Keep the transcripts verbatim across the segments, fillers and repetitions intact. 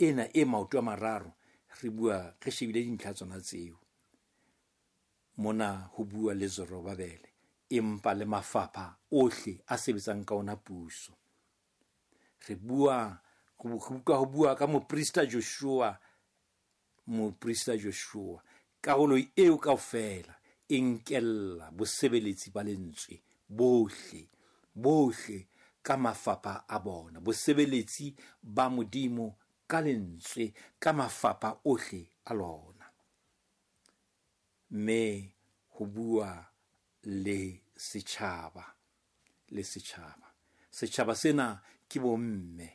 ena e maoto a mararo, re bua re shebile dintlha tsona tseo. Mona ho bua le Zorobabele, empa le mafapha ohle a sebetsang ka ona puso. Re bua ho bua ka moprista Joshua, moprista Joshua, karolo eo kaofela e nkella bosebeletsi ba lentswe bohle, bohle ka mafapha a bona, bosebeletsi ba Modimo ka lentswe ka mafapha ohle a lona. Mme ho bua le setjhaba, le setjhaba. Setjhaba sena ke bomme,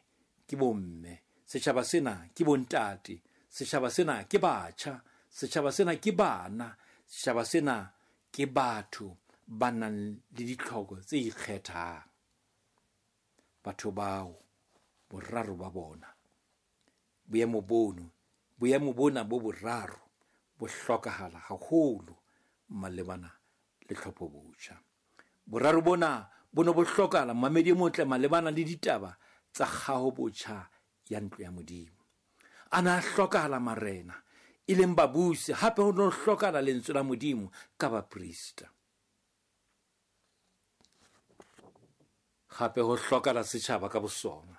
ke bomme. Setjhaba sena ke bontate, setjhaba sena ke batjha, setjhaba sena ke bana, setjhaba sena ke batho ba nang le ditlhoko tse ikgethang. Batho bao boraro ba bona, boemo bono, boemo bona bo boraro bo hlokahala haholo malebana le tlhopho botjha. Boraro bona bo ne bo hlokahala mamedi e motle malebana le ditaba tsa kgaho botjha ya ntlo ya Modimo. A na hlokahala marena e leng babusi, hape ho no hlokahala lentswe la Modimo ka baprista. Hape ho hlokahala setjhaba ka bosona.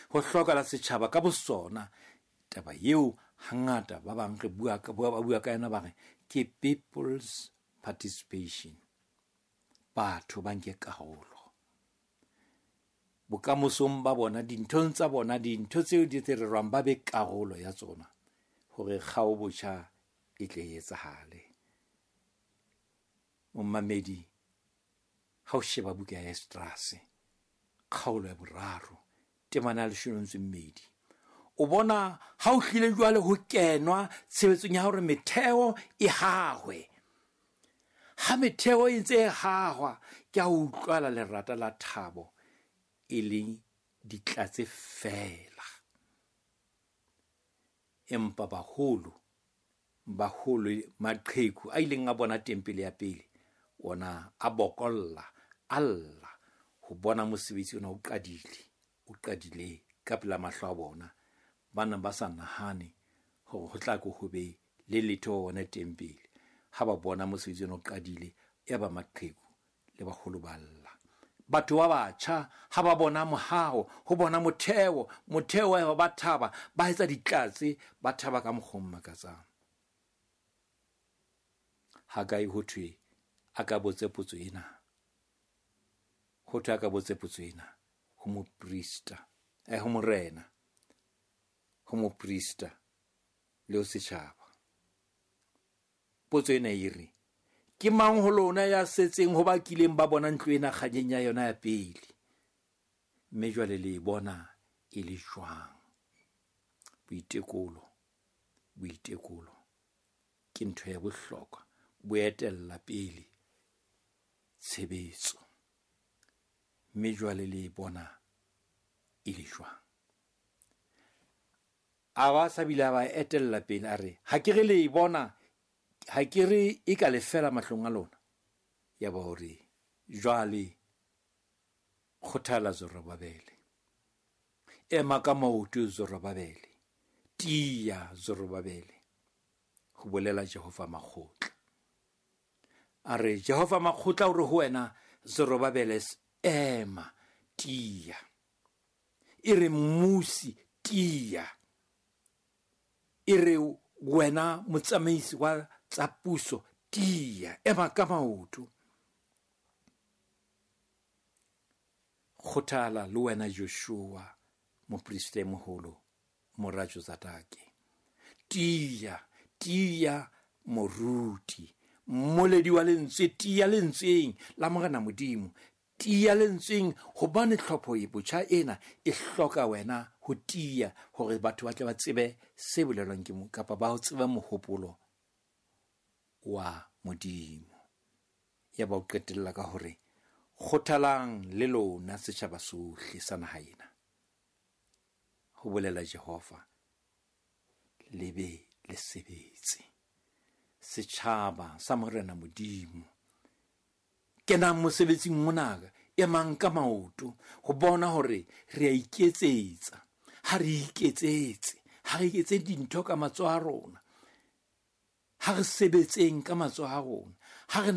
Ho hlokahala setjhaba ka bosona. Taba eo hangata ba bang re bua ka ba bua ka yona ba re ke people's participation. Batho ba nke karolo bokamosong ba bona, dinthong tsa bona, dintho tseo di rerwang ba be karolo ya tsona hore kgao botjha e tle e etsahale. Momamedi, ha o sheba buka ya Esdrase kgaolo ya boraro temana ya leshome le metso e mmedi, o bona ha o hlile jwale ho kenwa tshebetsong ya hore metheo e hahwe. Ha metheo e ntse e hahwa, ke a utlwala lerata la thabo e leng ditlatse fela. Empa baholo, baholo maqheku a ileng a bona tempele ya pele, ona a bokolla, a lla ho bona mosebetsi ona o qadile, o qadile ka pela mahlo a bona. Ba neng ba sa nahane hore ho tla ko ho be le letho ona tempele. Ha ba bona mosebetsi ona o qadile, ya ba maqheku le baholo ba lla. Batho ba batjha ha ba bona mohaho, ho bona motheo, motheo wa ba thaba, ba etsa ditlatse, ba thaba ka mokgwa o makatsang. Hagai ho thwe a ka botse potso ena, ho thwe a ka botse potso ena ho moprista, eh ho morena, ho moprista le ho setjhaba. Potso ena e re, ke mang ho lona ya setseng ho ba kileng ba bona ntlo ena kganyeng ya yona ya pele? Mme jwale le e bona e le jwang? Boitekolo, boitekolo ke ntho ya bohlokwa, bo etella pele tshebetso. Mme jwale le e bona e le jwang? A ba sa bile a ba etella pele a re, ha ke re le e bona, ha ke re e ka lefela mahlong a lona. Ya ba hore jwale kgothala Zorobabele, ema ka maoto Zorobabele, tiya Zorobabele, ho bolela Jehova makgotla. A re Jehova makgotla o re ho wena Zorobabele, ema, tiya. E re mmusi, tiya. E re wena motsamaisi wa tsa puso, tiya, ema ka maoto. Kgothala le wena Joshua, moprista e moholo, mora Jozadake. Tiya, tiya moruti, mmoledi wa lentswe, tiya lentsweng la Morena Modimo, tiya lentsweng, hobane tlhopho e botjha ena e hloka wena ho tiya hore batho ba tle ba tsebe se bolelwang ke mo, kapa ba ho tsebe mohopolo wa Modimo. Ya ba o qetella ka hore kgothalang le lona setjhaba sohle sa naha ena, ho bolela Jehova, le be le sebetse. Setjhaba sa Morena Modimo, kenang mosebetsing mona, emang ka maoto ho bona hore re a iketsetsa. Ha re iketsetse, ha re iketse dintho ka matsoho a rona. Ha re sebetseng ka matsoho a rona. Ha re